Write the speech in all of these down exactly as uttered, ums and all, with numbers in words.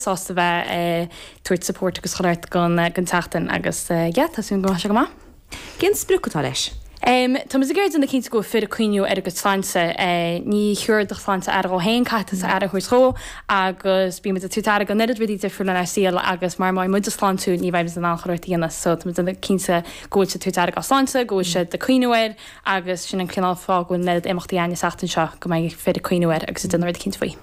Sásta bheith ag tabhairt support agus chuile shórt don don tseachtain agus yeah, tá súil go mbeidh sé go maith. Cén sprioc atá leis? Um, tá muid ag iarraidh déanamh cinnte go bhfuil fir ag cuimhniú ar a gcuid sláinte. Ní thabharfaidh do shláinte aire dhó féin, caithfidh tusa aire a thabhairt dhó agus bíonn muid ag tabhairt aire don oiread rudaí difriúla inár saol agus mara mbeidh muid sláintiúil ní bheidh muid in ann chuile shórt a dhéanamh. So tá muid ag déanamh cinnte go bhfuil siad ag tabhairt aire dá sláinte, go bhfuil siad ag cuimhniú air agus sin an cineál fáth go bhfuil an oiread imeachtaí ann an tseachtain seo go mbeidh fir ag cuimhniú air agus ag déanamh rud eicínt faoi.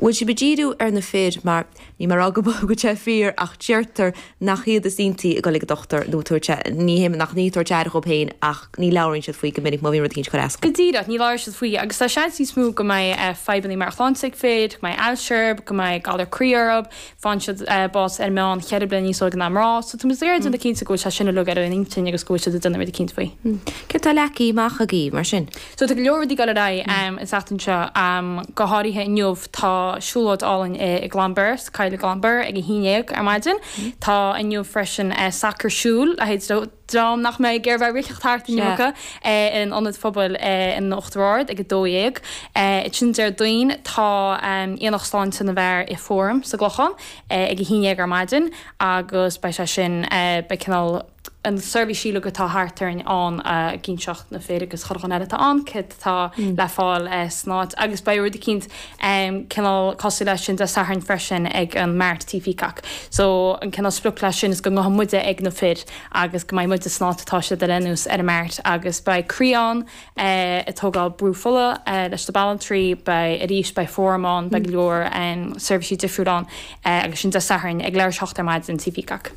Bhfuil sibh ag díriú ar na fir mar níl mé ag rá go bhfuil sé fíor ach deirtear nach iad is iontaí ag dul ag an dochtúir nó tabhairt ní hé nach ní tabhairt aire dhóibh féin ach ní labhraíonn siad faoi go minic má bhíonn rud éicint ag cur as. Go díreach, ní labhraíonn siad faoi agus tá seans níos mó go mbeidh fadhbanna meabhairshláinte ag fir, go mbeidh ailse, go mbeidh galar croí orthu, faigheann siad bás ar meán cheithre bliana níos óige ná mná, so tá muid ag iarraidh déanamh cinnte go bhfuil sé sin uilig ar an intinn agus go bhfuil siad ag déanamh rud eicínt faoi. Céard atá leagtha amach agaibh mar sin? So tá go leor rudaí ag dul ar aghaidh an tseachtain seo, go háirithe inniu tá siúlóid álainn i gClonbur, sa choill i gClonbur ag a haon déag ar maidin. Tá inniu freisin sacar siúil le haghaidh dream nach mbeidh ag iarraidh bheith ag rith thart an iomarca in ionad phobail in Uachtar Ard ag a dó dhéag. Ansin Déardaoin tá Aonach Sláinte na bhFear i Fóram sa gClochán ag a haon déag ar maidin agus beidh sé sin, beidh cineál, an seirbhísí uilig atá thart orainn ann ag inseacht na fir agus chuile dhuine eile atá ann céard atá le fáil san áit agus beidh rud eicínt cineál cosúil leis sin Dé Sathairn freisin ag an Mart Tí Peacock. So an cineál sprioc leis sin is go ngabhfaidh muide ag na fir agus go mbeidh muide san áit atá siad ar aon nós ar an Mart agus beidh croí ann ag tógáil brú fola leis na banaltraí, beidh arís beidh fóram ann, beidh go leor seirbhísí difriúil ann agus sin Dé Sathairn ag leathuair tar éis a hocht ar maidin Tí Peacock.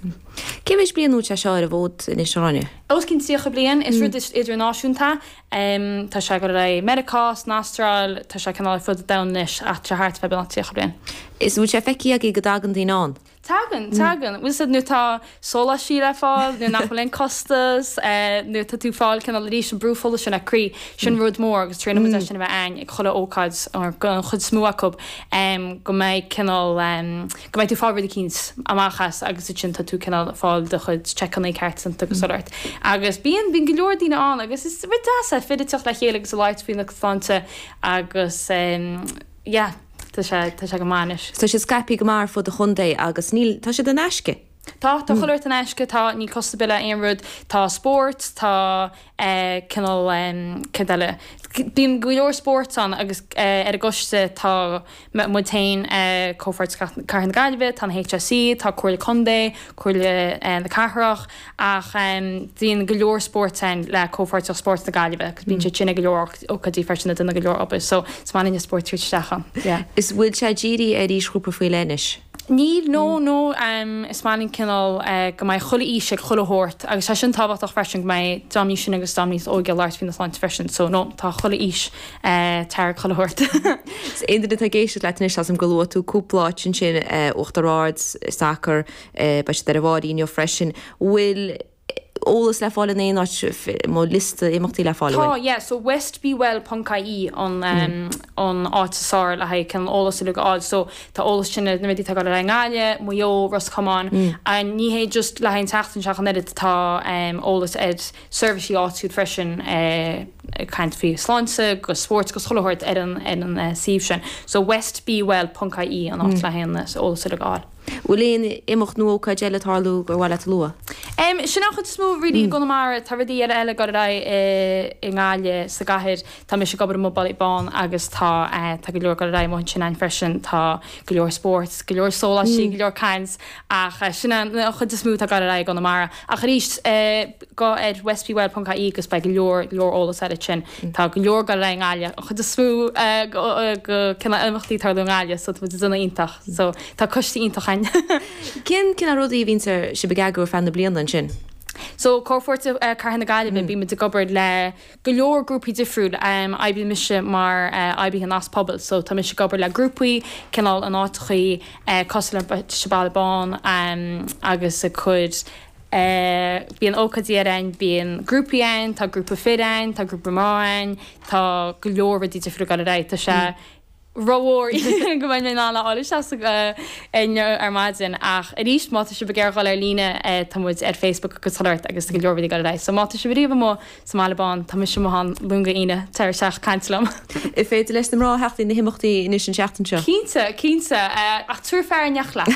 Cé mhéid bliain ó tá sé seo ar an bhfód anois, a Ghráinne? Os cionn tríocha bliain. Is rud idirnáisiúnta é. Tá sé ag dul ar aghaidh i Meiriceá, san Astráil, tá sé cineál ar fud an domhain anois ach tá sé thart fá beagnach tríocha bliain. Is bhfuil sé feicthe agaibh go dtagann daoine ann? Tagann, tagann. Bhfuil 'fhios a'd nuair atá sóláistí le fáil, nuair nach bhfuil aon costas, nuair atá tú ag fáil cineál arís an brú fola sin ar croí, sin rud mór agus triaileann muid é sin a bheith a'ainn ag chuile ócáid, an chuid is mó acu, go mbeidh cineál, go mbeidh tú ag fáil rud eicínt amach as agus ansin tá tú cineál ag fáil do chuid checkannaí ceart santa agus sórt. Agus bíonn, bíonn go leor daoine ann agus is rud deas é fir ag teacht le chéile agus ag labhairt faoina sláinte agus yeah, tá sé, tá sé go maith anois. Tá siad scaipthe go maith ar fud an chontae agus níl, tá siad in aisce. Tá, tá chuile shórt in aisce, tá, níl costas ar bith le aon rud, tá spórt, tá eh cineál em céard eile, bíonn go leor spóirt ann agus eh ar an gcoiste tá muid féin eh Comhpháirt Cathair na Gaillimhe, tá an HSE, tá Comhairle Contae, Comhairle eh na Cathrach ach em bíonn go leor spóirt ann le Comhpháirtíocht Spóirt na Gaillimhe agus bíonn siad sin ag go leor ócáidí freisin ag déanamh go leor obair so is maith linn an spórt tabhairt isteach ann, yeah. Is bhfuil sé dírithe ar aoisghrúpa faoi leith anois? Níl, no, no, is maith linn cineál go mbeidh chuile aois ag chuile shórt agus tá sin tábhachtach freisin go mbeidh dream níos sine agus dream níos óige ag labhairt faoina sláinte freisin so no, tá chuile aois tar chuile shórt. Is aon duine atá ag éisteacht leat anois, tá 's a'm gur luaigh tú cúpla áit ansin, Uachtar Ard, sacar, beidh siad ar an bhFáirín inniu freisin. Bhfuil eolas le fáil in aon áit, nó liosta imeachtaí le fáil, an Tá, bhfuil? yeah, so westbewell ponc ie an an áit is fearr le haghaidh cineál eolas uilig a fháil. So tá eolas sin ar na rudaí atá ag dul ar aghaidh i nGaillimh, Maigh Eo, Ros Comáin. Ní hé just le haghaidh an tseachtain seo ach an oiread, tá eolas ar seirbhísí áitiúil freisin ag caint faoi sláinte agus spóirt agus chuile shórt ar an ar an suíomh sin. So westbewell ponc ie an áit le haghaidh an eolas uilig a fháil. Bhfuil aon imeacht nó ócáid eile ag tarlú gur mhaith leat a lua? Em, sin an chuid is mó really i gConamara. Tá rudaí eile eile ag dul ar aghaidh i i nGaillimh, sa gcathair. Tá mise ag obair amuigh Baile Bán agus tá eh tá go leor ag dul ar aghaidh amuigh ansin a'inn freisin. Tá go leor spóirt, go leor sóláistí, go leor caint ach eh sin an an chuid is mó atá ag dul ar aghaidh i gConamara. Ach arís eh gabh ar westbewell ponc ie agus beidh go leor leor eolas air ansin. Tá go leor ag dul ar aghaidh i nGaillimh. An chuid is mó eh go cineál imeachtaí ag tarlú i nGaillimh so tá muid ag déanamh iontach. So tá coiste iontach a'inn. Cén cineál rudaí a bhíonns ar sibh ag eagrú ar feadh na bliana ansin? So Comhpháirtíocht Cathair na Gaillimhe, bíonn muid ag obair le go leor grúpaí difriúil. Oibríonn mise mar oibrithe nasc pobail so tá mise ag obair le grúpaí cineál in áiteachaí cosúil le Baile Bán agus ag cur bíonn ócáidí ar a'inn, bíonn grúpaí a'inn, tá grúpa fir a'inn, tá grúpa mná a'inn, tá go leor rudaí difriúil ag dul ar aghaidh. Tá sé Rómhór go mbeidh mé in ann a fháil isteach inniu ar maidin ach arís má tá sibh ag iarraidh dul ar líne tá muid ar Facebook agus thart agus go leor rudaí ag dul ar aghaidh. So má tá sibh riamh amuigh sa mBaile Bán tá mise amuigh ann Luan go hAoine tar isteach caint liom. Is féidir leis na mná theacht na himeachtaí anois an seachtain seo. Cinnte, cinnte ach tabhair fear in éineacht leat.